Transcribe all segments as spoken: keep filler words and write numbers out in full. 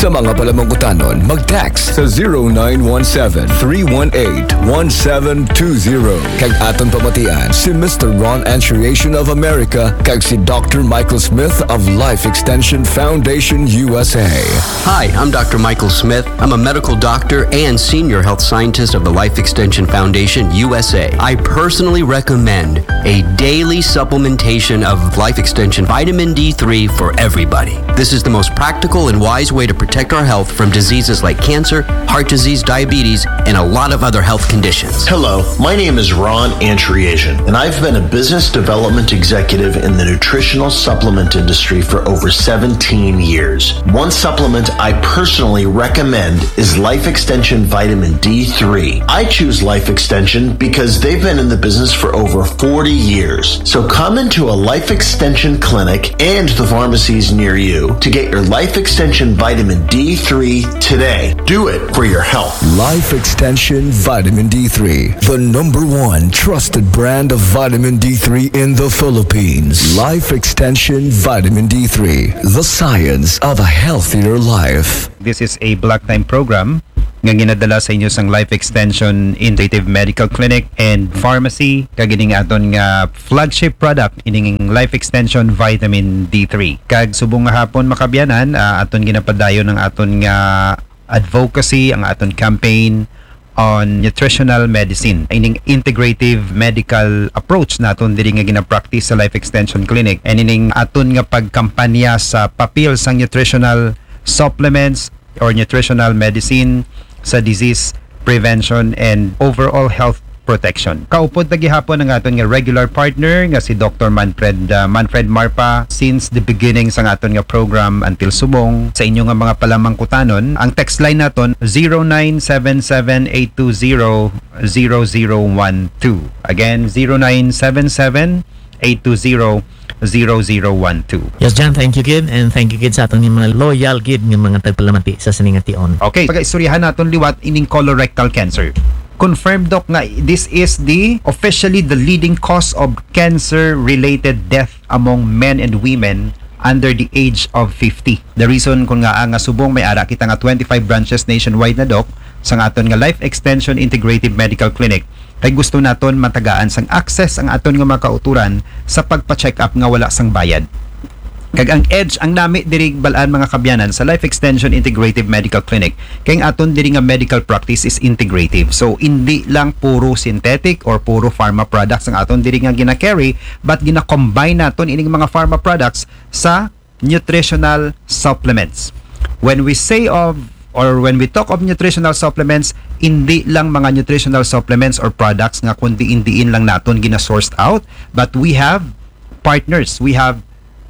Sa mga palamangkutanon, mag-text sa zero nine one seven, three one eight, one seven two zero. Kag aton pamatian si Mister Ron Anchuriation of America kag si Doctor Michael Smith of Life Extension Foundation U S A. Hi, I'm Doctor Michael Smith. I'm a medical doctor and senior health scientist of the Life Extension Foundation U S A. I personally recommend a daily supplementation of Life Extension vitamin D three for everybody. This is the most practical and wise way to protect our health from diseases like cancer, heart disease, diabetes, and a lot of other health conditions. Hello, my name is Ron Anchuriasian, and I've been a business development executive in the nutritional supplement industry for over seventeen years. One supplement I personally recommend is Life Extension Vitamin D three. I choose Life Extension because they've been in the business for over forty years. So come into a Life Extension clinic and the pharmacies near you to get your Life Extension Vitamin D three today. Do it for your health. Life Extension Vitamin D three, the number one trusted brand of vitamin D three in the Philippines. Life Extension Vitamin D three, the science of a healthier life. This is a block time program nga ginadala sa inyo sang Life Extension Integrative Medical Clinic and Pharmacy, kag ining aton nga flagship product, ining Life Extension Vitamin D three. Kag subong nga hapon, makabyanan, ah, aton ginapadayon ang aton nga advocacy, ang aton campaign on nutritional medicine, ining integrative medical approach naton diri nga ginapractice sa Life Extension Clinic, and ining aton nga pagkampanya sa papel sang nutritional supplements or nutritional medicine sa disease prevention and overall health protection. Kaupod ta gihapon ang aton nga regular partner nga si Doctor Manfred, ah, Manfred Marpa since the beginning sa aton nga program until subong. Sa inyo nga mga palamangkutanon, ang text line naton zero nine seven seven eight two zero zero zero one two. Again, zero nine seven seven eight two zero zero zero one two. Yes, John, thank you gid, and thank you gid sa aton nga mga loyal gid nga mga tagpalamati sa sining nga tion. Okay, pagaistoryahan naton liwat ining colorectal cancer. Confirmed, Doc, nga this is the officially the leading cause of cancer-related death among men and women under the age of fifty. The reason kun ngaa nga subong may ara kita nga twenty-five branches nationwide na, Doc, sa aton nga Life Extension Integrative Medical Clinic, kay gusto naton matagaan sang access ang aton nga mga kauturan sa pagpa-check up nga wala sang bayad. Kag ang edge, ang nami diri bal-an, mga kabyanan, sa Life Extension Integrative Medical Clinic, kay ang aton diri nga medical practice is integrative. So, indi lang puro synthetic or puro pharma products ang aton diri nga gina-carry, but gina-combine naton ining mga pharma products sa nutritional supplements. When we say of or when we talk of nutritional supplements, hindi lang mga nutritional supplements or products nga kun diin-diin lang naton gina-sourced out, but we have partners, we have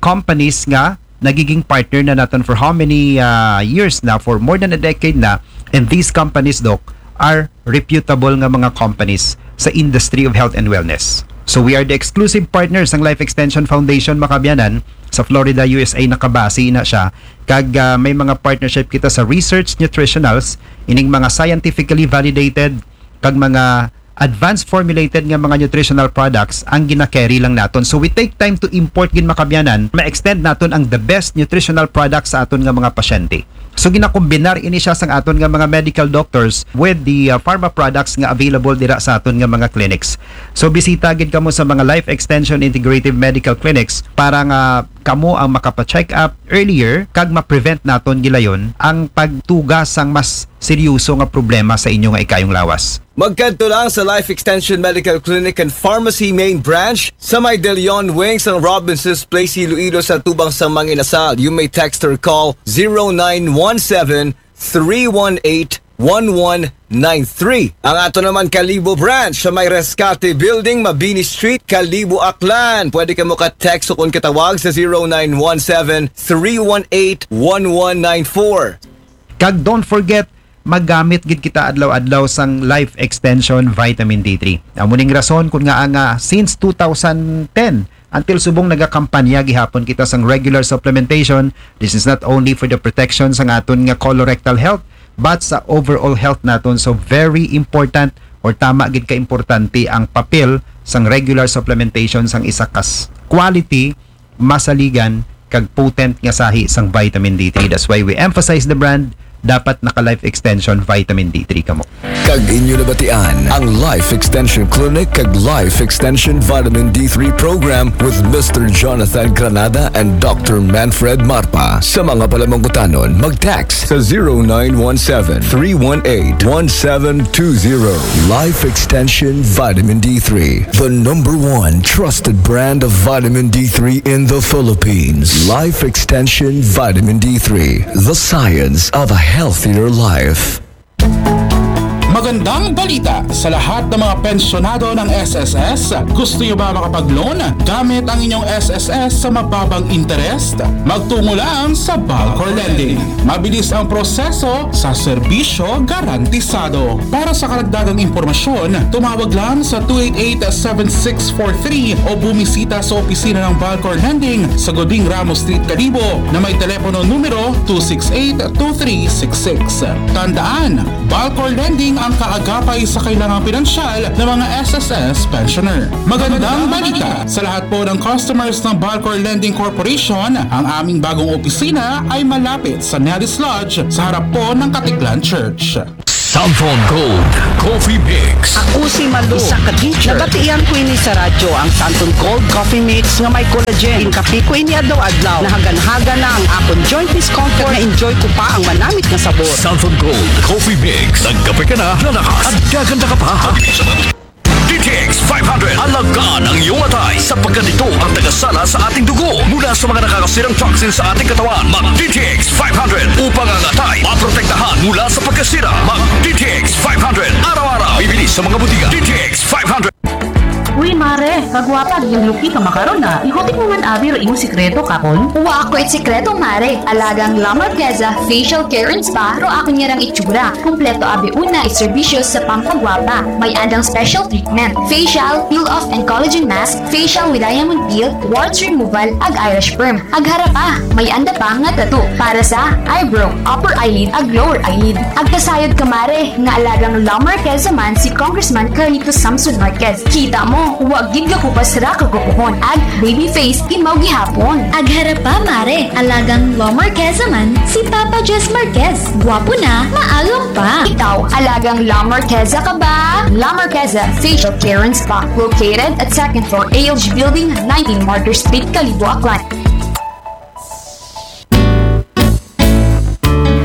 companies nga nagiging partner na naton for how many, ah, years na, for more than a decade na, and these companies, Doc, are reputable nga mga companies sa industry of health and wellness. So we are the exclusive partners ng Life Extension Foundation, makabyanan, sa Florida, U S A, nakabase na siya. Kag, ah, may mga partnership kita sa research nutritionals, ining mga scientifically validated kag mga advanced formulated nga mga nutritional products ang gina-carry lang naton. So we take time to import gid, makabyanan, ma-extend naton ang the best nutritional products sa aton nga mga pasyente. So ginakombinar ini siya sang aton nga mga medical doctors with the, uh, pharma products nga available dira sa aton nga mga clinics. So bisita gid kamo sa mga Life Extension Integrative Medical Clinics para nga kamo ang makapa-check up earlier kag ma-prevent naton gilayon ang pagtuga sang mas seryoso nga problema sa inyo nga ikayong lawas. Magkadto lang sa Life Extension Medical Clinic and Pharmacy Main Branch sa may De Leon Wing sang Robinson's Place, Iloilo, sa tubang sang mga inasal. You may text or call zero nine one seven, three one eight, one one nine three. Ang ato naman Kalibo Branch sa may Rescate Building, Mabini Street, Kalibo, Aklan. Pwede kamo ka-text o kun katawag sa zero nine one seven, three one eight, one one nine four. Kag don't forget, magamit gid kita adlaw-adlaw sang Life Extension Vitamin D three. Amo ning rason kun ngaa nga since two thousand ten until subong nagakampanya gihapon kita sang regular supplementation. This is not only for the protection sang aton nga colorectal health, but sa overall health naton. So very important or tama gid ka importante ang papel sang regular supplementation sang isa ka s-, quality, masaligan, kag potent nga sahi sang vitamin D three. That's why we emphasize the brand, dapat naka Life Extension vitamin D three kamo. Kag inyo nabatian ang Life Extension Clinic kag Life Extension Vitamin D three Program with Mister Jonathan Granada and Doctor Manfred Marpa. Sa mga palamangkutanon, mag-text sa zero nine one seven, three one eight, one seven two zero. Life Extension Vitamin D three, the number one trusted brand of vitamin D three in the Philippines. Life Extension Vitamin D three, the science of a healthier life. Magandang balita sa lahat ng mga pensyonado ng S S S. Gusto nyo ba makapag-loan gamit ang inyong S S S sa mababang interest? Magtungo lang sa Balcor Lending. Mabilis ang proseso sa serbisyo garantisado. Para sa karagdagang impormasyon, tumawag lang sa two eight eight, seven six four three o bumisita sa opisina ng Balcor Lending sa Goding Ramos Street, Kalibo na may telepono numero two six eight, two three six six. Tandaan, Balcor Lending ang kaagapay sa kailangang pinansyal ng mga S S S pensioner. Magandang balita sa lahat po ng customers ng Balcor Lending Corporation, ang aming bagong opisina ay malapit sa Nellis Lodge sa harap po ng Katiklan Church. Santon Gold Coffee Mix. Ako si Malu, isa ka teacher. Nabatian ko ini sa radyo, ang Santon Gold Coffee Mix nga may collagen. Ginkape ko ini adlaw-adlaw. Nahagan-hagan na ang akon joint discomfort. Na-enjoy ko pa ang manamit nga sabor. Santon Gold Coffee Mix. Nagkape ka na, lalakas, at gaganda ka pa. D T X five hundred. Alagaan ang iyong atay sapagkat ito ang tagasala sa ating dugo mula sa mga nakakasirang toxin sa ating katawan. Mag D T X five hundred upang ang atay maprotektahan mula sa pagkasira. Mag D T X five hundred araw-araw. Bibili sa mga butika. D T X five hundred. Uy, mare, kagwapa, yung luki ka makaron na. Ikutik mo man abi ro imong sikreto, kakon? Wa ako it sikreto, mare. Alagang La Marqueza Facial Care and Spa ro akon ngarang itsura. Kompleto abi una it serbisyo sa pampagwapa. May andang special treatment, facial, peel-off and collagen mask, facial with diamond peel, warts removal, ag eyelash perm. Ag harapa, may anda pa nga tattoo para sa eyebrow, upper eyelid, ag lower eyelid. Ag kasayod ka, mare, nga alagang La Marqueza man si Congressman Carlito Samson Marquez. Kita mo, wa gid gakupas ra kagupuhon. Ag baby face, imaw gihapon. Ag harapa, mare, alagang La Marqueza man si Papa Jess Marquez. Gwapo na, maagom pa. Ikaw, alagang La Marqueza ka ba? La Marqueza Facial Care and Spa, located at second floor A L G Building, nineteen Martyr Street, Kalibo, Aklan.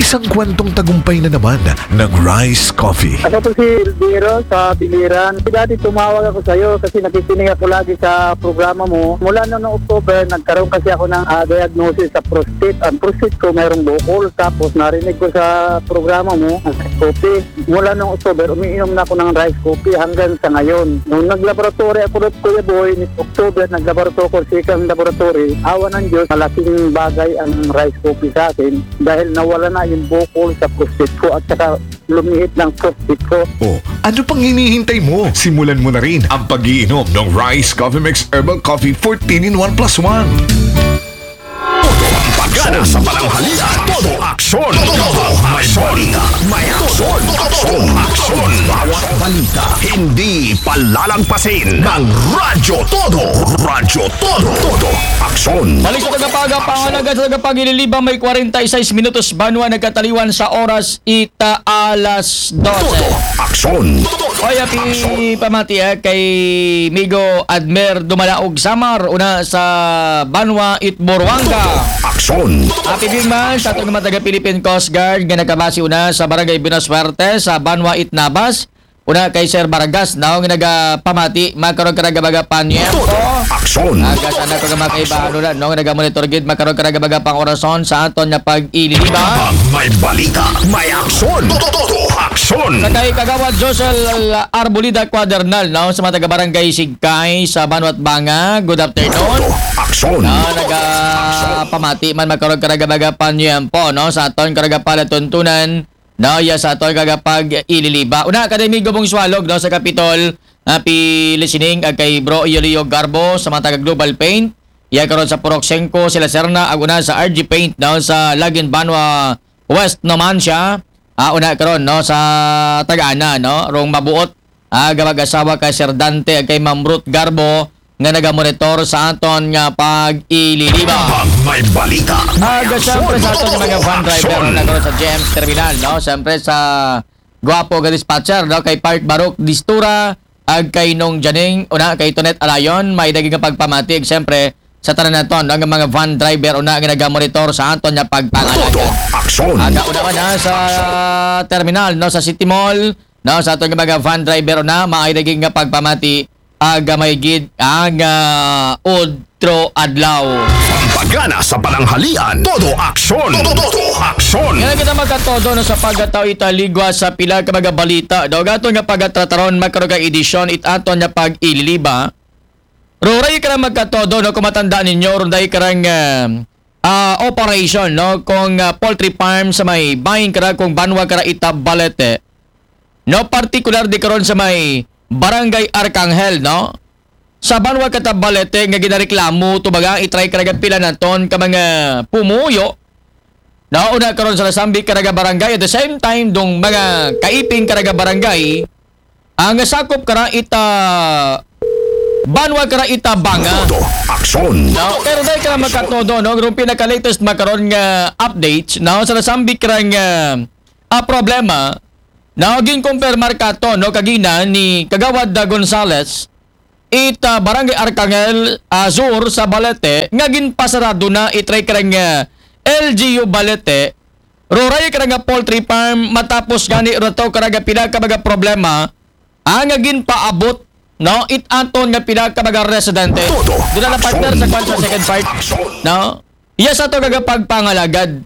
Isang kwentong tagumpay na naman ng Rice Coffee. Ako po si Elviro sa Piliran. Dati tumawag ako sa iyo kasi nakikinig ako lagi sa programa mo. Mula noong October, nagkaroon kasi ako ng ah, diagnosis sa prostate. Ang prostate ko mayroong bukol. Tapos narinig ko sa programa mo, ang coffee. Mula noong October, umiinom na ako ng rice coffee hanggang sa ngayon. Nung naglaboratory ako doon, Kuya Boy, ni October, naglaboratory ako, second laboratory. Awa ng Diyos, malaking bagay ang rice coffee sa akin dahil nawala na yung bukol sa prostate ko at saka lumihit ng prostate ko. O, ano pang hinihintay mo? Simulan mo na rin ang pag-iinom ng Rice Coffee Mix Herbal Coffee fourteen in one plus one. Pagana sa pananghalian. Todo aksyon. Todo may balita. May aksyon. Todo aksyon. Bawat balita. Hindi palalagpasin ng Radyo Todo. Radyo Todo. Todo aksyon. Balik sa tagapagapangalaga sa tagapagililiba, may kwarenta y seis minutos banwa nagkataliwan sa oras ita alas dose. Todo aksyon. Oy, api pamati eh, kay Migo Admer Dumalaog Samar, una sa Banwa it Boruanga. Aksyon. Api din man sa atong mga taga Philippine Coast Guard nga nakabase una sa Barangay Buenasuerte sa Banwa it Nabas. Una kay Sir Vargas, no, nga nagapamati, makaroon ka nagabaga panyempo. Todo aksyon. Aga sana ko nga makaibahan na, no, nga nagamonitor gid, makaroon ka nagabaga pang orason sa aton nga pag-ililiba. Pag may balita, may aksyon. Todo aksyon. Sa kay Kagawad Josel Arbolida Cuadernal, no, sa mga taga-barangay Sigkay sa Banwa it Banga, good afternoon. Todo aksyon. No, nagapamati man, makaroon ka nagabaga panyempo, no, sa aton karagapalatuntunan, no, ya sa aton kagapag-ililiba. Una, kada Migo Bong Swalog, no, sa Kapitol, happy listening, ag kay Bro Yolio Garbo sa mga taga Global Paint. Iya karon sa Purok Sengko, sila Serna, ag una sa R G Paint, no, sa Lagin Banwa West, Numancia. Ah, una karon, no, sa Tagana, no, rong mabuot, ah, gabag asawa kay Sir Dante, ag kay Ma'am Ruth Garbo, nga nagamonitor sa aton nga pag-ililiba. Pag may balita, may Aga, aksyon. Siyempre, sa aton nga mga van driver, Aksyon. Nagkaroon sa G M S Terminal, no? Siyempre, sa Guapo nga dispatcher, no? Kay Park Barok Distura, ag kay Nong Janing, una kay Tonet Alayon, may daging nga pagpamati, ag siyempre, sa tanan naton, no? Nga mga van driver, una nga nagamonitor sa aton nga pagpangalagad. Todo aksyon. Aga, una man, ha, sa terminal, no? Sa City Mall, no? Sa aton nga mga van driver, una, may daging nga pagpamati, aga may gid ang, ah, udro adlaw. Pampagana sa pananghalian, todo aksyon. Todo, todo aksyon. Nga kita magkatodo, no, sa pagkatao italigwa sa pila ka mga balita. Daw gato nga pagkatrataron, magkaroon ka edisyon, it aton nga pag-ililiba. Ruray ka na magkatodo, no, kung matandaan ninyo, runday ka rang, ah, ah, operation, no, kung, ah, poultry farm sa may bahin ka ra, kung banwa ka ra ita Balete. No, partikular di karon sa may Barangay Arcangel, no? Sa banwa ka ta Balete nga ginareklamo, tubaga, itry ka raga pila naton ka mga pumuyo. No, una karon sa nasambit ka raga barangay, at the same time, dong mga kaiping ka raga barangay, ang sakop ka ra ita, banwa ka ra ita Banga. Todo aksyon. No, pero dahil ka na magkatodo, no? Rumpi na ka latest makaron nga updates, no? Sa nasambit ka ra nga, ah, problema, no? Ginkonfirmar kato, no? Kagina ni Kagawad da Gonzales, ita Barangay Arcangel, ah, Sur sa Balete, nga ginpasarado na itry ka ra nga L G U Balete, ruray ka ra nga poultry farm, matapos gani rato ka ra nga pila ka mga problema, ang nga ginpaabot, no? It aton nga pila ka mga residente. Todo Doon na lang, partner, sa aksyon. Kwan sa second part, Aksyon. No? Iya sa to kaga pagpangalagad.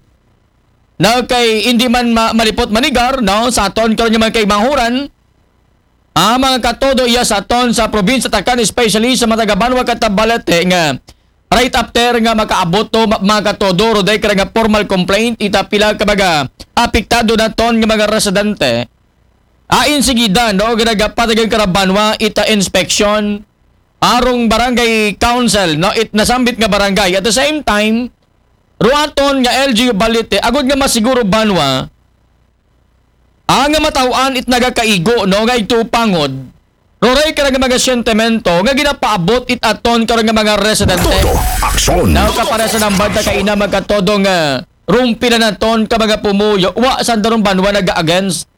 No, kay hindi man ma-, malipot manigar, no? Sa aton karon nga mga kaimanghuran, ah, mga katodo iya sa aton sa probinsya takan, especially sa mga taga Banwa ka ta Balete nga right after nga makaabot to, ma-, mga katodo, ruday ka ra nga formal complaint, ita pila ka mga apektado naton nga mga residente. Ah, insigida, no, ginagapatagan ka ra banwa, ita inspeksyon, arong barangay council, no, it nasambit nga barangay. At the same time, ruaton nga L G U Balete, agud nga masiguro banwa, ang nga mataw-an it nagakaigo, no, nga igtupangod, ruray ka ra nga mga sentimento nga ginapaabot it aton karon nga mga residente. Todo aksyon. Now, kapara sa nambad na kaina, magkatodo nga rumpi na naton ka mga pumuyo, wa sa darong banwa nag-against.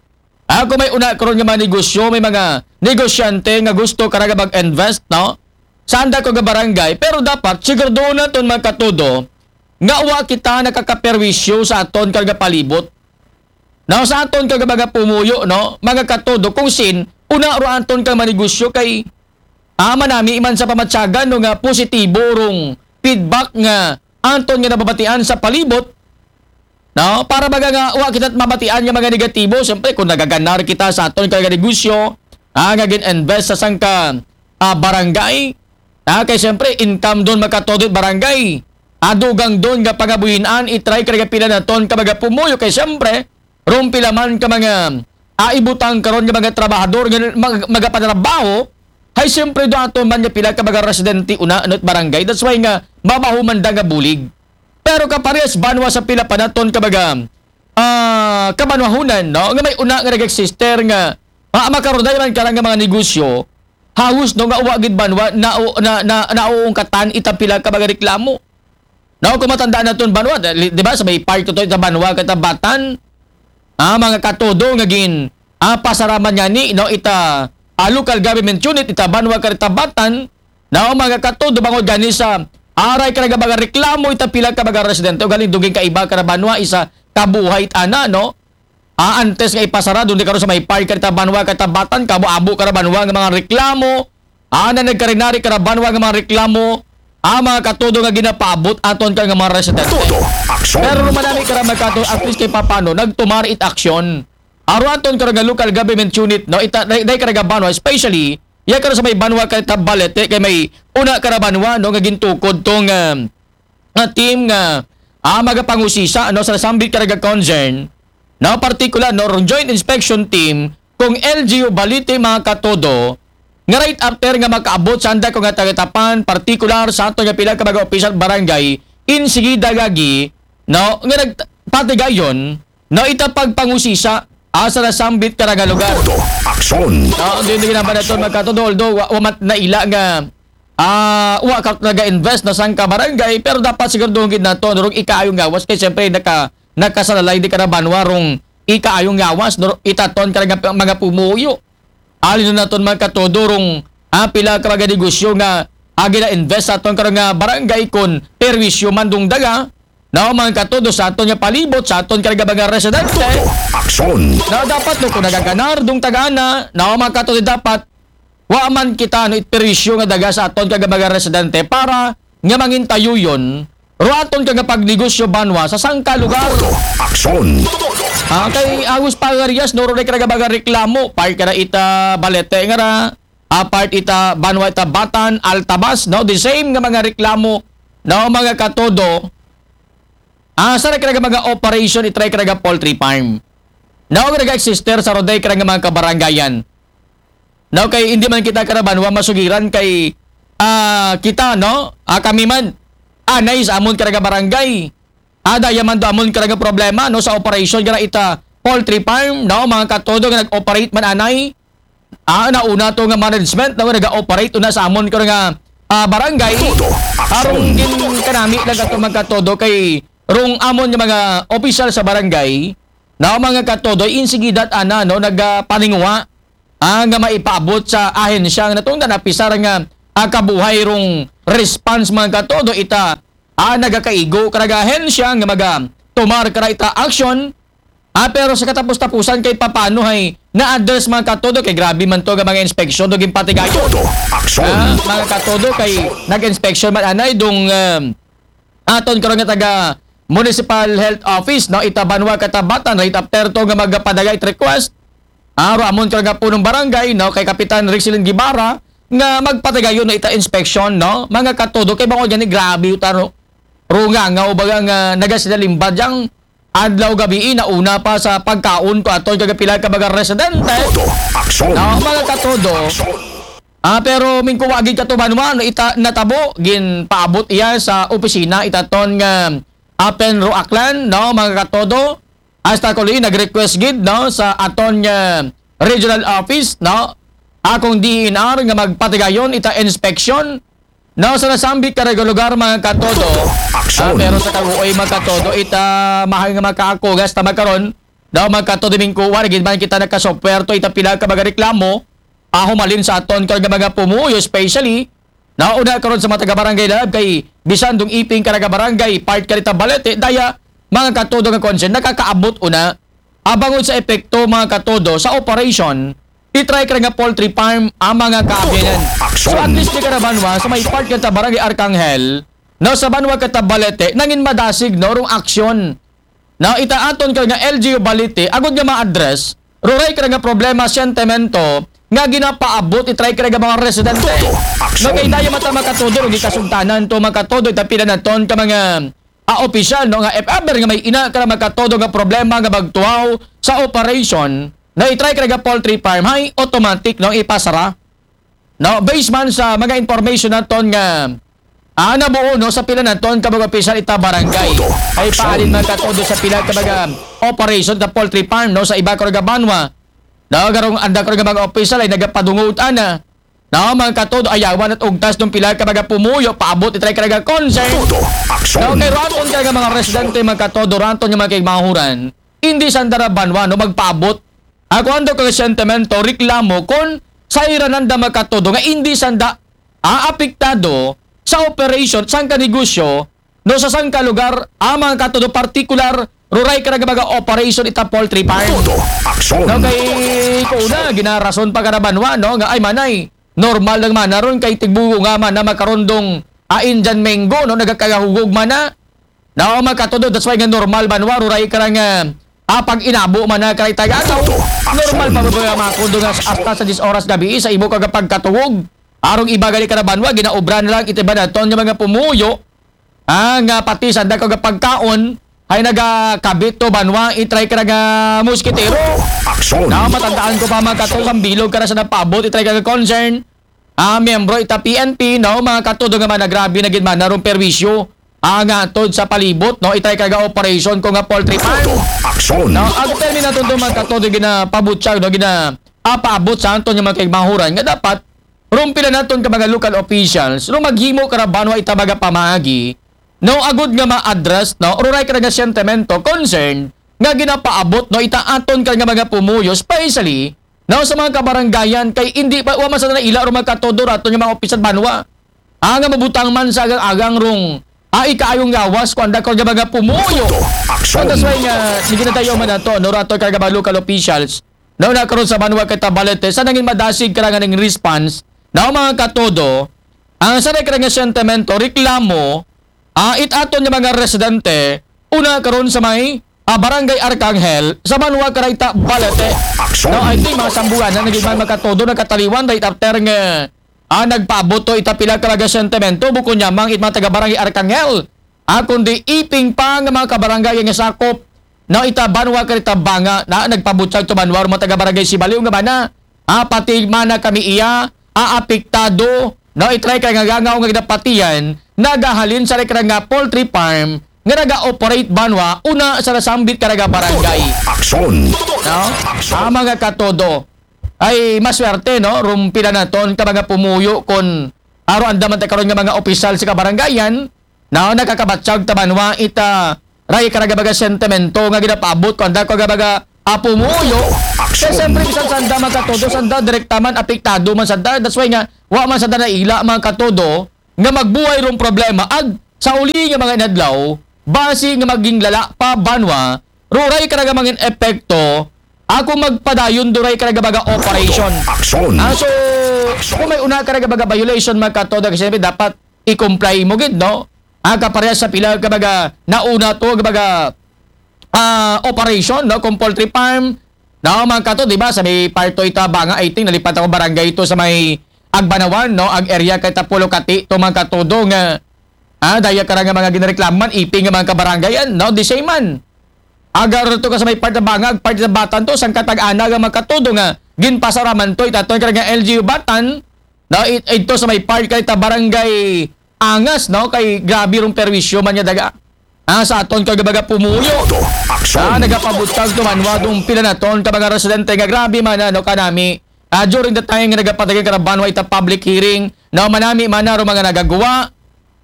Ako may una karon nga mga negosyo, may mga negosyante nga gusto ka ra nga mag-invest, no? Sanda ko nga barangay, pero dapat siguro doon naton magkatodo nga wa kita nakakaperwisyo sa aton ka nga palibot. Now, sa aton ka nga mga pumuyo, no? Mga katodo, kung sin, una ro aton ka manegosyo kay, ah, manami man sa pamatyagan, no, nga positibo rong feedback nga aton nga nababatian sa palibot, no? Para baga nga wa kita mabatian nga mga negatibo, siyempre, kung nagaganar kita sa aton ka nga negosyo, ah, nga gin-invest sa sangka, ah, barangay, ah, kay siyempre, income doon makatodot barangay. Ah, dugang doon nga pangabuhinan, itry ka nga pila naton ka mga pumuyo, kay siyempre, rumpi laman ka mga, ah, ibutang karon nga mga trabahador nga mag-, magapatrabaho, hay siyempre do aton man nga pila ka mga residente una, not barangay. That's why nga, mabaho man da nga bulig. Pero kaparehas banwa sa pila pa naton ka mga, ah, kabanwahunan, no? Nga may una nga nag-exister nga, ah, makaruday man ka nga mga negosyo, halos, no, nga uwa gid banwa, na, na, na, nauungkatan itang pila ka mga reklamo. No, kung matandaan naton banwa, di, di ba, sa may part ko to, ita banwa, katabatan, ah, mga katodo nga gin, ah, pasaraman nga ni, no, ita, ah, local government unit, ita banwa, katabatan, no, mga katodo, bangod gani sa, aray ka nga mga reklamo, ita pila ka mga residente, o galing duging kaiba ka na banwa, isa kabuhay it ana, no? Ah, antes nga ipasara, doon di karon sa may park, ka banwa, katabatan, kabo-abo ka banwa nga mga reklamo. Ah, na nagkarinari ka banwa nga mga reklamo. Ah, mga katodo nga ginapaabot aton ka nga mga residente. Todo aksyon. Pero rumanami ka mga katodo, at least kay papano, nagtumar it aksyon. Aro aton ka nga local government unit, no? Ita, day, day ka banwa, especially, iya ka sa may banwa ka Balete, kay may una ka banwa, no, nga gintukod tong, um, nga team nga, ah, magapangusisa, no, sa nasambit ka nga concern, no, partikular, no, rong Joint Inspection Team, kung L G U Balete, mga katodo, nga right after nga makaabot sa anda ko nga tagatapan, partikular sa ato nga pila ka mga opisyal barangay, insigida gagi, no, nga nagpatigayon, no, ita pagpangusisa, ah, sa nasambit ka nga lugar. Todo aksyon. No, hindi, hindi naman nato magkatodo, although wa, wa mat naila nga ah, wa ka naga-invest na sangka barangay, pero dapat siguraduhon gid naton rong ikaayong gawas kay siyempre naka-, nakasalalay di ka na banwa rong ikaayong gawas, no, itaton ka nga mga pumuyo. Alin na naton mga katodo rong, ah, pila ka mga negosyo nga, ah, gina-invest sa aton karong nga barangay kon perwisyo man dong daga, no, mga katodo sa aton nga palibot, sa aton karong mga residente. Aksyon! Na dapat no, kung nagaganar dong tagana, no, mga katodo dapat wa man kita no perwisyo nga daga sa aton karong mga residente para nga mangin tayo yon, ro aton karong pagnegosyo banwa sa sangka lugar. Aksyon! Ah, kay Agus Pagarias, no, ro na karong mga reklamo, part ka na ita Balete nga ra, ah, part ita banwa ita Batan, Altabas, no, the same nga mga reklamo, no, mga katodo, ah, sa karong mga operation, itry karong poultry farm. No, karong exister sa roday karong mga kabarangayan. No, kay hindi man kita karong banwa masugiran kay, ah, kita, no, ah, kami man, anay sa amon karong barangay. Ah, daya man do amon karong problema, no, sa operation karong ita poultry farm, no, mga katodo nga nag-operate man anay. Ah, nauna to nga management, no, nga nag-operate una sa amon karong nga, ah, barangay. Arong din kanami lang kato mga katodo kay rong amon nga mga opisyal sa barangay, no, mga katodo, insigida ana, no, nagapaninguha, ah, nga maipaabot sa ahensya nga natungdan apisar nga, ah, kabuhay rong response mga katodo ita, ah, nagakaigo karong ahensya nga maga tomar karong ita action. Ah, pero sa katapos-tapusan kay papaano hay na-address mga katodo kay grabe man to nga mga inspeksyon do ginpatigayon. Aksyon! Ah, mga katodo kay nag-inspeksyon man anay dong, um, aton karong nga taga Municipal Health Office, no, ita banwa katabatan right after to nga magpadagay it request. Ah, ro amon karong nga punong barangay, no, kay Kapitan Rexilin Guevara nga magpatigayon na ita inspeksyon, no, mga katodo kay bangod gani grabe utaro runga nga ubaga nga nagasinalimba diyang adlaw gabi nauna pa sa pagkaon ko aton karong pila ka mga residente. Aksyon! No, mga katodo. Ah, pero mingkuwagid kato banwa no ita natabo ginpaabot iya sa opisina itaton nga Apen Roaklan, no, mga katodo. Hasta kuli nag-request gid, no, sa aton nga regional office, no, akong D E N R nga magpatigayon ita inspeksyon, no, sa nasambit karong lugar mga katodo. Aksyon! Ah, pero sa kaguoy mga katodo ita mahal nga makaakugas ta magkaron, no, mga katodo mingkuwa gid man kita nakasopwerto ita pila ka mga reklamo, ah, humalin sa aton karong mga pumuyo, especially nauna karon sa mga taga-barangay lab kay bisan dong iping karong barangay, part karong ita Balete, daya mga katodo nga concern nakakaabot una. Abangod sa epekto mga katodo sa operation, itry karong poultry farm ang mga kaabinan. So at least di karong banwa sa may part karong barangay Arcangel, no, sa banwa karong Balete, nangin madasig, no, rong aksyon. No, ita aton karong L G U Balete, agod nga ma-address, ruray karong problema, sentimento, nga ginapaabot itry karong mga residente. No, kay daya mata mga katodo, rong gikasugtanan to mga katodo, ita pila naton ka mga, ah, opisyal, no, nga if ever nga may ina karong mga katodo nga problema nga magtuaw sa operation, no, itry karong poultry farm, hay automatic, no, ipasara. No, based man sa mga information naton nga, ah, nabuo, no, sa pila naton ka mga opisyal ita barangay. Ay paalin man katodo sa pila ka mga operation sa poultry farm, no, sa iba karong banwa. No, karong anda karong mga opisyal ay nagapadungog ana. No, mga katodo, ayawan at ugtas dong pila ka mga pumuyo, paabot itry karong concern. No, kay ro aton karong mga residente mga katodo, ro aton nga mga kaimahuran, hindi sanda ra banwa, no, magpaabot. Ako ando ka sentimento, reklamo kon sa ira nanda mga katodo nga hindi sanda aapektado sa operation sangka negosyo, no, sa sangka lugar, ang mga katodo partikular, ruray karong mga operation ita poultry farm. Aksyon! No, kay ko una, ginarason pa karong banwa, no, nga ay manay, normal lang mana ron kay tigbugo nga mana magkaron dong, ah, Indian mango, no, nagakagahugog mana. No, mga katodo, that's why nga normal banwa, ruray karong, ah, ah, pag-inabo mana karong ita gagaw. Normal pa ba mga kondo nga hasta sa diyes oras gabi sa imo karong pagkatuwog? Arong iba gani karong banwa, ginaobra na lang ita ba naton nga mga pumuyo. Ah, nga pati sanda karong pagkaon, ay nagakabit to banwa, itry karong moskitero. Aksyon! No, matandaan ko pa mga katodo, sa bilog karong sa napaabot, itry karong concern. Ah, miyembro ita P N P, no, mga katodo nga mana grabe na gid mana rong perwisyo. Ah, nga atod sa palibot, no, itry karong operation ko nga poultry farm. Aksyon! No, ako permi naton to mga katodo ginapabutyag, no, gina, ah, paabot sa aton nga mga kaimahuran nga dapat run pila naton ka mga local officials, run maghimo kara banwa ita mga pamaagi, no, agud nga ma-address, no, ruray kara nga sentimento, concern, nga ginapaabot, no, ita aton kara nga mga pumuyo, especially, no, sa mga kabarangayan, kay indi pa, wa man sa naila run mga katodo raton nga mga opisyal banwa. Ah, nga mabutang man sa agang-agang rung, ah, ikaayong gawas, kung anda ko nga mga pumuyo. Aksyon. So, that's why nga, sige na tayo man nato, no, rato kara nga mga local officials, no, na karon sa banwa kay Tabalete, sa nangin madasig kara nga ning response, no, mga katodo, ang sa kara nga sentimento, reklamo, ah, it aton nga mga residente, una karon sa may, ah, Barangay Arcangel, sa banwa kara ita Balete. Aksyon. No, I think mga sambugan na naging man mga katodo, nagkataliwan, right after nga, ah, nagpaabot to ita pila ka mga sentimento, bukon niya mang it mga taga Barangay Arcangel. Ah, kundi iping pa nga mga kabarangay nga sakop, no, ita banwa kara ita Banga, na nagpabutyag to banwa, mga taga Barangay Sibaliw nga mana, ah, pati mana kami iya, ah, apektado, no, itray kara nga gangaw nga ginapatian, nagahalin sa kara nga poultry farm, nga naga-operate banwa, una sa nasambit kara nga barangay. Aksyon. No? Aksyon. Ah, mga katodo, ay maswerte, no? Run pila naton ka mga pumuyo kun aro anda man ta karon nga mga opisyal sa kabarangayan, no, nakakabatyag ta banwa ita ray kara nga mga sentimento nga ginapaabot ko anda ko nga mga, ah, pumuyo. Aksyon. Kay siyempre, bisan sanda mga katodo, sanda direkta man apektado man sanda. That's why nga, wa man sanda naila mga katodo, nga magbuhay rung problema ag sa uli nga mga inadlaw, basi nga maging lala pa banwa, ruray kara nga mangin epekto, ako magpadayon duray kara nga mga operation. Aksyon. Ah, so, kung may una kara nga mga violation, mga katodo, kasi siyempre dapat i-comply mo gid, no? Ah, kaparehas sa pila ka mga nauna to, ka mga, ah, operation, no? Kung poultry farm, no, mga kato, di ba, sa may part to ita Banga, I think, nalipat ako barangay ito sa may Agbanawan, no? Ag area kay Tapulo Kati, to mga katodo nga, ah, daya kara nga mga ginareklaman, iping nga mga kabarangayan, no? Di same man. Agar to ka sa may part na Banga, part na Batan to, sang katag-ana nga mga katodo nga, ginpasaraman to, itaton kara nga L G U Batan, no? It, ito sa may part kay ta barangay Angas, no? Kay grabe rung perwisyo man niya daga. Ah, sa aton ka mga pumuyo. Aksyon. Ah, nagapabutag to man, wa dong pila naton ka mga residente nga grabe man, ano, kanami. Ah, during the time nga nagapadagan ka na banwa ita public hearing, no, manami man na ro mga nagagawa.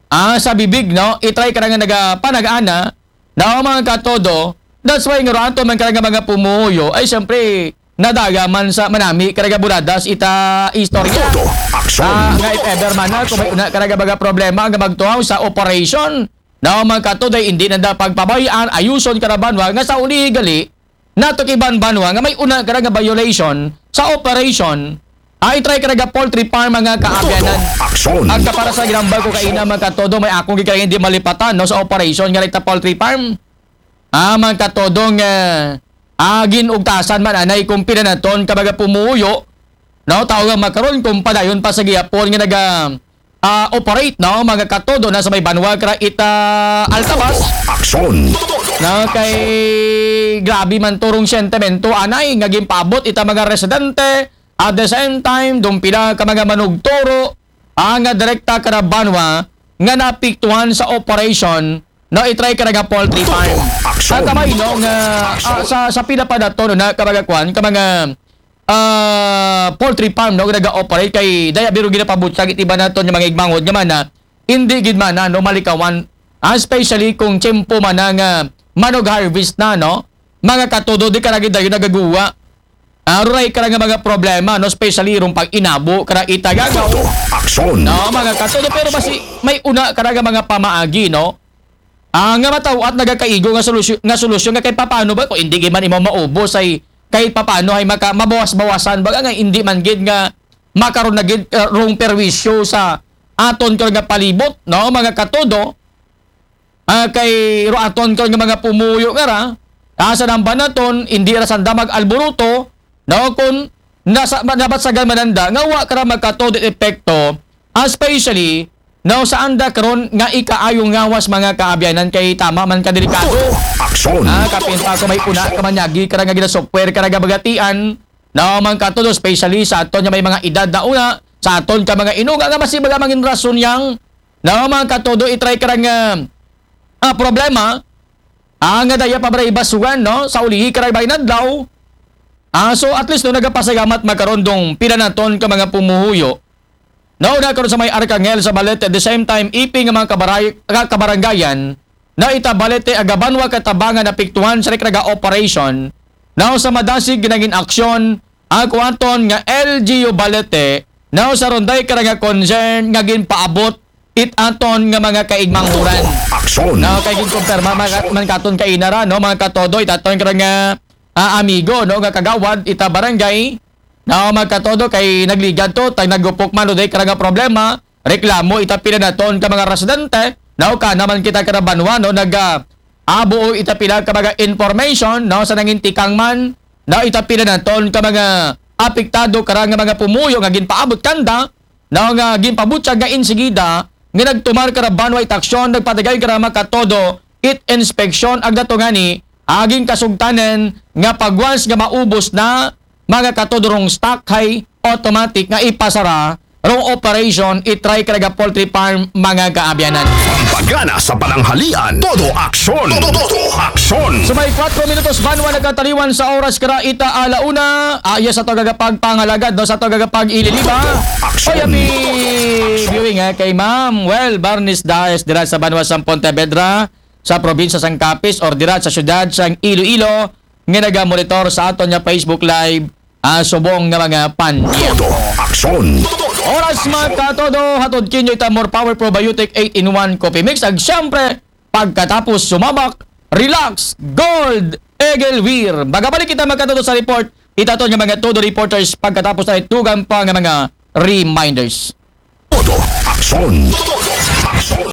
Ah, sa bibig, no, itry ka na nga nagapanag-ana, no, mga katodo. That's why nga ro ato man ka nga mga pumuyo, ay siyempre, nadaga man sa manami ka nga buradas ita istorya. Aksyon. Ah, nga if ever man na, kung may una ka nga mga problema nga magtuhaw sa operation, no, mga katodo, hindi na da pagpabayaan, ayuson ka na banwa, nga sa uli gali, natukiban banwa, nga may una ka nga violation sa operation, ay try ka nga poultry farm, mga kaabyanan. Aksyon. Ang kapara sa ginambal ko kaina, mga katodo, may akong gikaya hindi malipatan, no, sa operation nga ita poultry farm. Ah, mga katodo nga, ah, ginugtasan man anay kung pila naton ka mga pumuyo, no? Tao nga makaron kung padayon pa sa gihapon nga naga, ah, operate, no? Mga katodo na sa may banwa kara ita Altabas. Aksyon. Na kay grabe man turong sentimento anay nga ginpaabot ita mga residente. At the same time, dong pila ka mga manugturo, ah, nga direkta ka na banwa nga naapektuhan sa operation, no, itry ka na nga poultry farm. Aksyon. At amay, no, nga, ah, sa, sa pila pa na to, no, na ka mga kwan, ka mga, ah, poultry farm, no, nga naga-operate kay daya biro ginapabutyag it iba naton nga mga igmangod nga mana, hindi gid mana, no, malikawan. Ah, especially kung tiyempo man na nga manog harvest na, no, mga katodo, di ka na gid dayon nagaguwa. Ah, ruray ka nga mga problema, no, especially rong pag-inabo ka na itagagaw. Aksyon. No, mga katodo, pero basi may una ka nga mga pamaagi, no? Ah, nga mataw-at nagakaigo nga solusyon, nga solusyon nga kay papaano ba kung hindi gid man imo maubos ay kay papaano ay maka, mabawas-bawasan ba nga hindi man gid nga makaron na gid, ah, rong perwisyo sa aton ka nga palibot, no, mga katodo? Ah, kay ro aton ka nga mga pumuyo nga ra, ah, sa namba naton, hindi ra sanda mag-alburuto, no, kun nasa, nabatsagan man nanda, nga wa ka ra magkatod epekto, ah, especially, no, sa anda karon nga ikaayong ngawas mga kaabyanan kay tama man ka delikado. Aksyon. Ah, kapin pa ako may una ka manyagi ka ra nga ginasoftware ka ra nga bagatian, no, mga katodo, especially sa aton nga may mga edad na una, sa aton ka mga inuga nga masi mga mangin rason yang, no, mga katodo, itry ka ra nga, ah, problema, ah, nga daya pa basugan, no, sa ulihi ka ra bay nadlaw. Ah, so at least, no, nagapasalamat makarondong pila naton ka mga pumuhuyo. Nauna karon sa may Arcangel sa Balete, at the same time, ipi nga mga kabaray, ka-, kabarangayan, na ita Balete, agabanwa katabangan apektuhan sa karaga operation, na sa madasig ginangin aksyon, ang kuanton nga L G U Balete, na sa ronday karaga concern nga ginpaabot it aton nga mga kaigmanghuran. Aksyon. Na kay ginkumpirma mga, man katon kainara, no, mga katodo, itaton karaga ah, amigo, no, nga kagawad, ita barangay, na mga katodo kay nagligad to, tag nagupok man, o day karaga problema, reklamo, ita pila naton ka mga residente, na ka naman kita karabanwa, no, nag, ah, abuo ita pila ka mga information, no, sa nangintikang man, na ita pila naton ka mga apektado karaga mga pumuyo nga ginpaabot kanda, na nga ginpabutyag nga insigida nga nagtumar karabanwa ita aksyon, nagpatagay karaga mga katodo, it inspeksyon agda to ngani, aging kasugtanan nga pagwas nga maubos na mga katodo rong stock hay automatic nga ipasara rong operation itry karaga poultry farm mga kaabyanan. Pagana sa pananghalian. Todo aksyon. Todo aksyon. So may kwatro minutos banwa nakataliwan sa oras kara ita ala una. Aya sa to gagapag pangalagad, no, sa to gagapag ililiba. Aksyon. Oy, happy viewing ha kay Ma'am Well Barnes Daes dira sa banwa sa Pontevedra, sa probinsya sang Capiz or dira sa syudad sang Iloilo nga nagamonitor sa aton nga Facebook Live, ah, subong nga mga pan. Todo aksyon. Oras mga katodo, hatod kinyo ita More Power Probiotic eight in one Coffee Mix. Ag siyempre, pagkatapos sumabak, relax, Gold Eagle Wear. Magabalik kita mga katodo sa report. Itaton nga mga todo reporters pagkatapos na itugang pa nga mga reminders. Todo aksyon. Todo aksyon.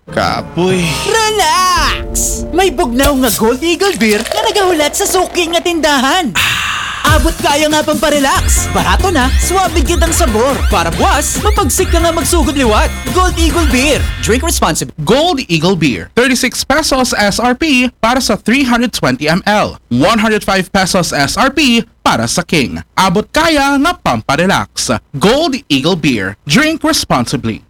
Kapoy. Relax! May bugnaw nga Gold Eagle Beer nga nagahulat sa suki nga tindahan. Abot kaya nga pamparelax. Barato na, suabe kitang sabor. Para buwas, mapagsik ka nga magsugod liwat. Gold Eagle Beer. Drink responsibly. Gold Eagle Beer, thirty-six pesos S R P para sa three hundred twenty M L, one hundred five pesos S R P para sa King. Abot kaya nga pamparelax. Gold Eagle Beer. Drink responsibly.